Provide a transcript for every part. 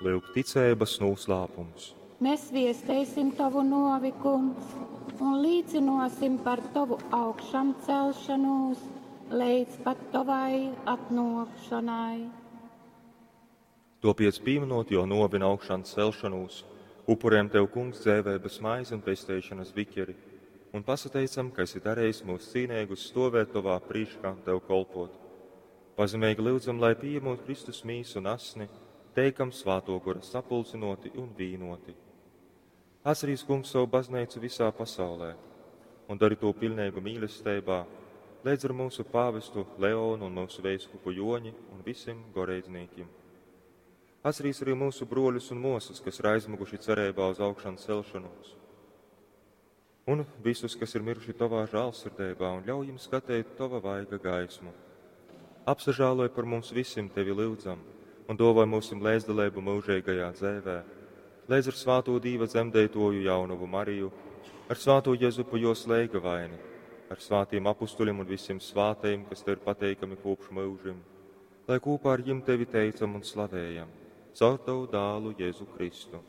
Lyuk ticeibas nūslāpums. Mēs viesteisim Tovu nuovi, Kungs, un līcynuosim par Tovu augšamcelšonūs leidz pat Tovai atnuokšonai. Topiec pīminot jo nuovi un augšām celšanūs, upurējam Tev, Kungs, dzēvēbas maizi un pesteišanas bikeri, un pasateicam, ka esi darījis mūs cīnīgus stovēt Tovā prīškā un Tev kolpot. Pazemīgi lyudzam, lai pieņemot Kristus mīsu un asni, teikam svāto gora sapulcinoti un vīnoti. Atcerīs, Kungs, savu baznīcu visā pasaulē un dari to pilnīgu mīlestībā, līdz ar mūsu pāvestu Leonu un mūsu veiskupu Joņi un visiem goreidznīkim. Atcerīs arī mūsu broļus un mosas, kas ir aizmuguši cerībā uz augšanu celšanos. Un visus, kas ir miruši tavā žēlsirdībā, un ļauj jums skatīt tava vaiga gaismu. Apsažāloj par mums visiem tevi lūdzam, un dāvāj mūsim līdzdalību mūžīgajā dzēvē, līdz ar svāto Dīva dzemdētoju jaunavu Mariju, ar svāto Jezupu jos leigavaini, ar svātiem apustuļiem un visiem svātajiem, kas tev ir pateikami kopš mūžim, lai kopā ar jim tevi teicam un slavējam, caur tavu dālu Jēzu Kristu.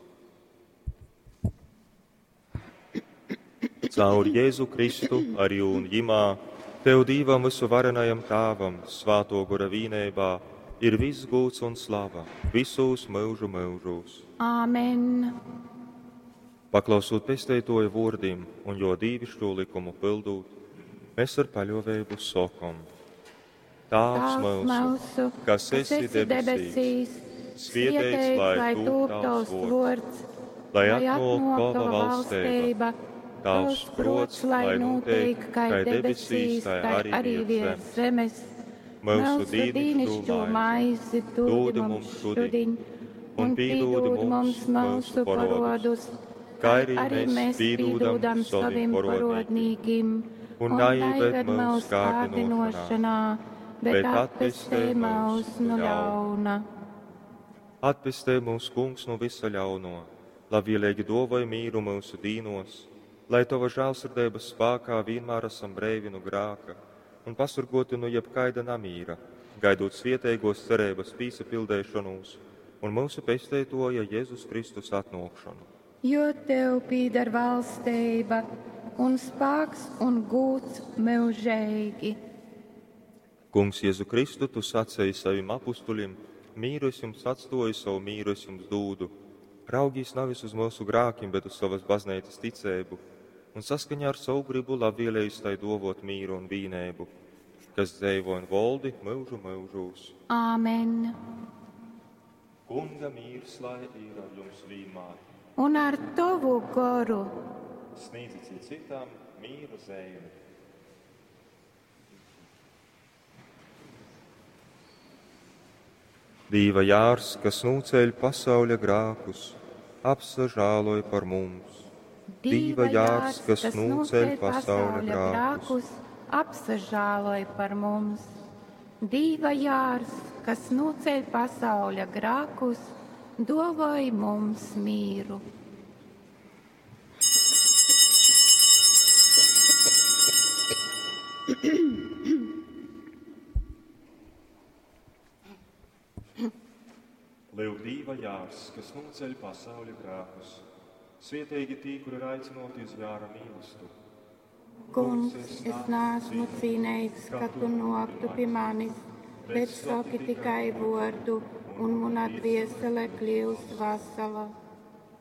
Caur Jēzu Kristu, arī un jimā, tev Dīvam visu varenajam Tāvam, svāto gora vīnībā, ir viss gūts un slava, visos mūžu mūžos. Āmen! Paklausot pesteitoja vōrdim un jo dīvišķo likumu pildūt, mēs ar paļovēbu sokom. Tāvs mūsu, kas esi debesīs, svietēts lai tūp tavs vōrds, lai atnāk tava valsteiba, tavs prots, lai notiek kā debesīs, tā arī virs zemes. Mūsu dīnišķo maizi dod mums šodien, un pīdod mums mūsu parodus, kā arī mēs pīdodam saviem parodnīkim, un neieved mūsu kārdinošanā, bet atpestē mūs no ļauna. Atpestē mūs, Kungs, no visa ļauno, labvēlīgi dovoj mīru mūsu dīnos, lai Tava žēlsirdības spēkā vienmēr esam breivi no grāka un pasurgoti no jebkaida namīra, gaidot svietēgos cerības pīsapildēšanos un mūsu pesteitoja Jēzus Kristus atnākšanu. Jo tev pīdar valsteiba un spāks un gūts mūžīgi. Kungs Jēzu Kristu, tu sacēji saviem apustuļiem, mīru es jums atstoju, savu mīru es jums dūdu. Raugīs nevis uz mūsu grākiem, bet uz savas baznīcas ticēbu, un saskaņā ar savu gribu labvēlējis tai dovot mīru un vīnēbu, kas dzēvo un voldi mūžu mūžūs. Āmen! Kunga mīrs lai ir ar jums vienmēr. Un ar tavu goru. Sniedzit citam mīra zēni. Dīva jārs, kas nūceļ pasauļa grākus, apsažāloj par mums. Dīva jārs, kas nūceļ pasauļa grākus, apsažāloj par mums. Dīva jārs, kas nūceļ pasauļa grākus, dovoj mums mīru. Lūk, Dīva jārs, kas nūceļ pasauļa grākus. Svietīgi tī, kuri ir aicinoti uz jāra mīlestu. Kungs, es neesmu cīnīgs, ka tu noktu pie manis, bet saki tikai vārdu, un mana dviesele kļūs vesela.